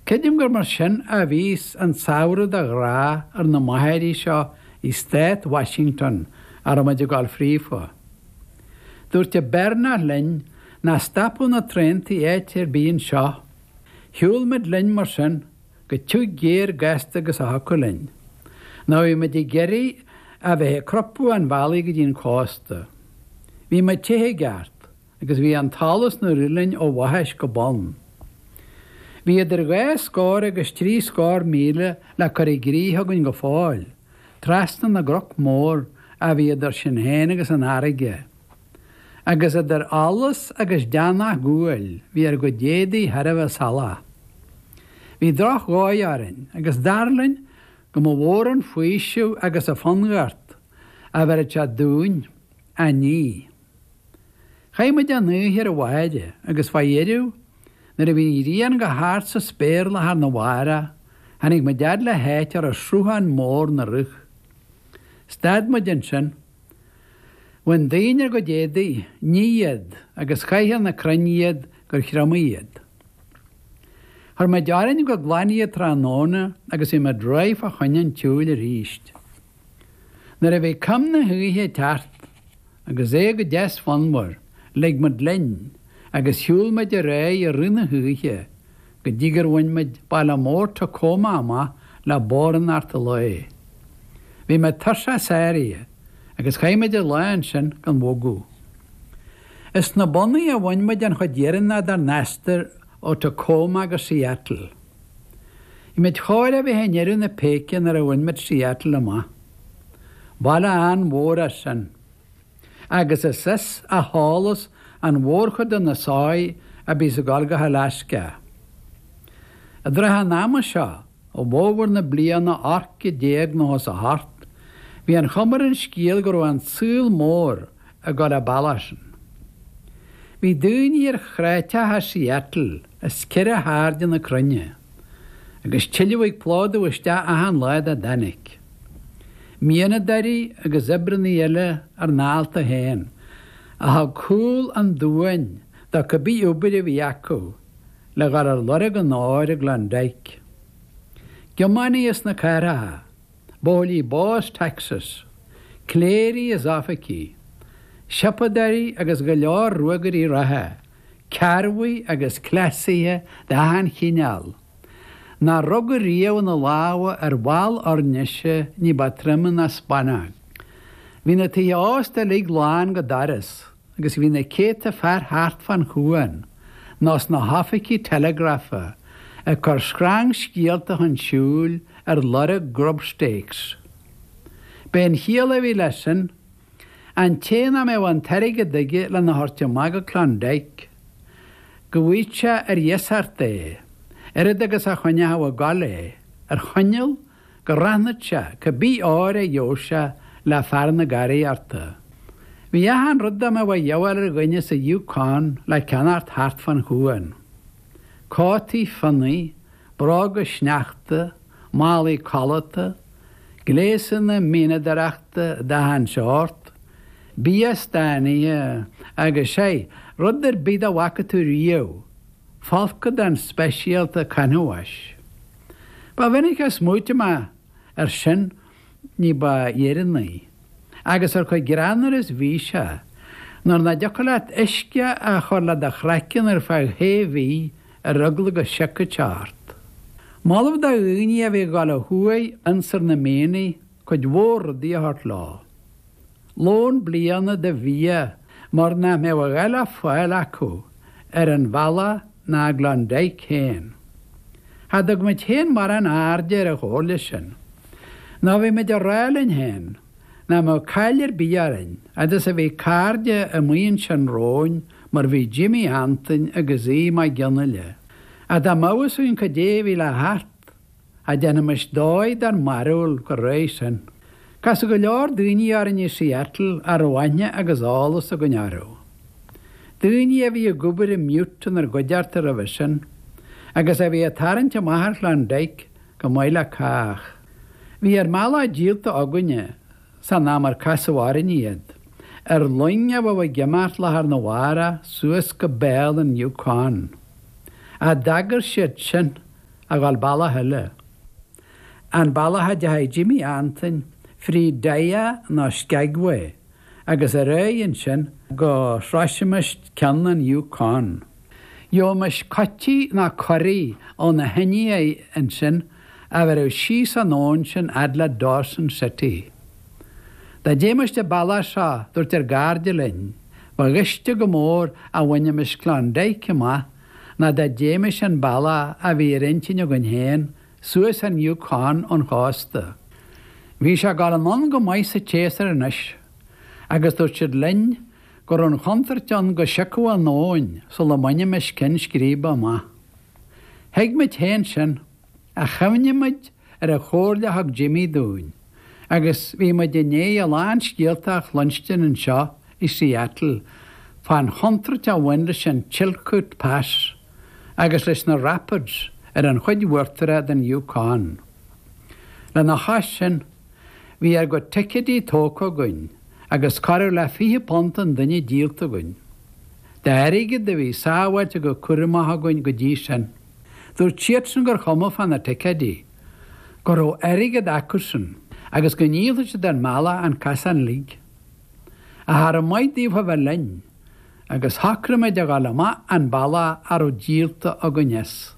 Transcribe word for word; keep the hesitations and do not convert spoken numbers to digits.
Creidim gur mar sin a bhíos an samhradh de ghrá ar na machairí seo i Stát Washington a raibh muid ag dul fríofa. Dúirt an Beirneach linn nach stopadh na traentaí áit ar bith anseo. Shiúil muid linn mar sin go tiugh géar gasta agus a thiocfadh linn. Nó bhí muid ag iarraidh a bheith ag crupadh an bhealaigh go dtí an cósta. Bhí muid te i gceart agus bhí an t-allas 'nár rith linn ó bhaithis go bonn. Bhí idir dhá scór agus trí scór míle le cur i gcrích againn go fóill, trasna na gcnoc mór a bhí idir sinn féin agus an fharraige. Agus idir allas agus deannach guail bhí ár gcuid éadaí thar a bheith salach. Bhí drochdhóigh orainn agus dar linn go mba mhór an faoiseamh agus an fonnghort a bhéarfadh sé dúinn a ní. Chaith muid an oíche ar an mhachaire agus fá dheireadh nuair a bhí an ghrian go hard sa spéir lá arna mhárach, tháinig muid fhad le háit a raibh sruthán mór 'na rith. Stad muid ansin. Bhain daoine a gcuid éadaí, nigh iad agus chaith ar na crainn iad gur thriomaigh iad. Chuir muid orainn go glan iad tráthnóna agus bhí muid réidh fá choinne an tsiúil arís. Nuair a bhí coim na hoíche ag teacht agus é go deas fonnmhar, lig muid linn agus shiúil muid ar aghaidh i rith na hoíche go dtí gur bhain muid baile mór Tacoma amach le ballraíocht an lae. Bhí muid tuirseach sáraithe agus chaith muid an lá ansin gan bhogadh. Is sna bonnaí a bhain muid an chuid dheireanach dár n-aistear ó Tacoma go Seattle. Bhí muid chóir a bheith i ndeireadh na péice nuair a bhain muid Seattle amach. Baile an-mhór é sin. Agus is as a sheolas an mhórchuid de na soithí a bhíos ag dul go hAlaska. I dtrátha an ama seo, i bhfómhar na bliana ocht gcéad déag nócha is a hocht, bhí an chuma ar an scéal go raibh an saol mór ag dul an bealach sin. Bhí daoine ar chreateacha Seattle as ceithre hairde na cruinne, agus tuilleadh ag plódú isteach achan lá dá dtáinig. Mianadóirí agus oibreanna eile ar n-álta féin, a thug cúl an domhain do cibé obair a bhí acu le dhul ar lorg an óir i gClondike. Tiománaithe sna cathracha, buachaillí bó as Texas, cléirigh is oifigigh, siopadóirí agus go leor ruagairí reatha, cearrbhaigh agus cleasaithe d'achan chineál, nár rugadh riamh ina lámha ar bhall oirnise ní ba troime ná spannóg. Bhí na tithe ósta uilig lán go doras agus bhí na céadta fear thart fán chuan, nó sna hoifigí telegrafa, ag cur screangscéalta chun siúil ar lorg grubstakes. B'é an chiall a bhí leis sin, an té nach mbeadh an t-airgead aige lena thabhairt amach go Klondike, go bhfaigheadh sé ar iasacht é, oiread agus a choinneodh ag gabháil é, ar choinníoll go roghnódh sé cibé ór a gheobhadh sé le fear na garaíochta. Bhí achan rud dá mbeadh a dhíobháil ar dhuine sa Yukon le ceannacht thart fán chuan. Cótaí fionnaidh, bróga sneachta, málaí codlata, gléasanna mianadóireachta d'achan seort, bia stánaithe agus sé, rud ar bith dá bhfaca tú riamh, folcadán speisialta canbháis. Ba mhinic a smaoitigh mé air sin ní ba dheireanaí, agus ar chomh greannmhar is bhí sé, nuair nach dtiocfadh leat uisce a chur le do chraiceann ar feadh shé mhí ar eagla go siocfadh sé ort. Moladh do dhaoine a bhí ag dul ó thuaidh ionsar na mianaigh cuid mhór rudaí a thabhairt leo. Lón bliana de bhia mar nach mbeadh a dhath le fáil acu ar an bhealach ná i gClondike féin. Cha dtug muid féin mórán airde ar an chomhairle sin. Nó bhí muid ag rá linn féin nach mbeadh caill ar bith orainn fhad is a bhí cairde amuigh ansin romhainn mar bhí Jimí Antain agus Aodh Mac Fhionnghaile. Ach dá mbeadh fhios againn cad é a bhí le theacht, cha déanfaimis dóigh dár mbarúil chomh réidh sin. Casadh go leor daoine orainn i Seattle a raibh aithne agus eolas againn orthu. Daoine a bhí ag obair i mButte inár gcuideachta roimhe sin, agus a bhí ag tarraingt amach ar Chlondike go maith le cách. Bhí ár mbealach díolta againne san am ar casadh orainn iad, ar loing a bheadh ag imeacht lá arna mhárach suas go béal an Yukon. Ach d'fhagair siad sin a ghabháil bealach eile. An bealach a ndeachaigh Jimmy Antoin fríd Dyea nó Skagway agus ar aghaidh ansin go sroisfimis ceann an Yukon. Gheobhaimis cutí nó corraí ó na hIndiaigh ansin a bheireadh síos an abhainn sinn fhad le Dawson City. Dá dtéimis an bealach seo dúirt ár gcairde linn, ba ghaiste go mór a bhainfimis Klondike amach ná dá dtéimis an bealach a bhí ar intinn againn féin suas an Yukon ón chósta. Bhí sé ag dul anonn go maith sa tséasúr anois, agus dúirt siad linn go raibh an chontúirt ann go siocfadh an abhainn sula mbainfimis ceann scríbe amach. Thuig muid féin sin ach chuimhnigh muid ar an chomhairle a thug Jimmy dúinn, agus bhí muid i ndiaidh a lán scéalta a chluinstin anseo i Seattle fán chontúirt a bhain leis an Chilkoot Pass agus leis na Rapids ar an chuid uachtarach den Yukon. Lena chois sin, bhí ár gcuid ticéidí tógtha againn agus corradh le fiche punt an duine díolta againn. D'airgead a bhí sábháilte go cúramach againn go dtí sin. Dúirt siadsan gur chuma fá na ticéidí, go raibh airgead acusan agus go ndíolfadh siad an bealach an casán uilig. Ach arbh mhaith daofa bheith linn, agus shocraigh muid a ghabháil amach an bealach a raibh díolta againn as.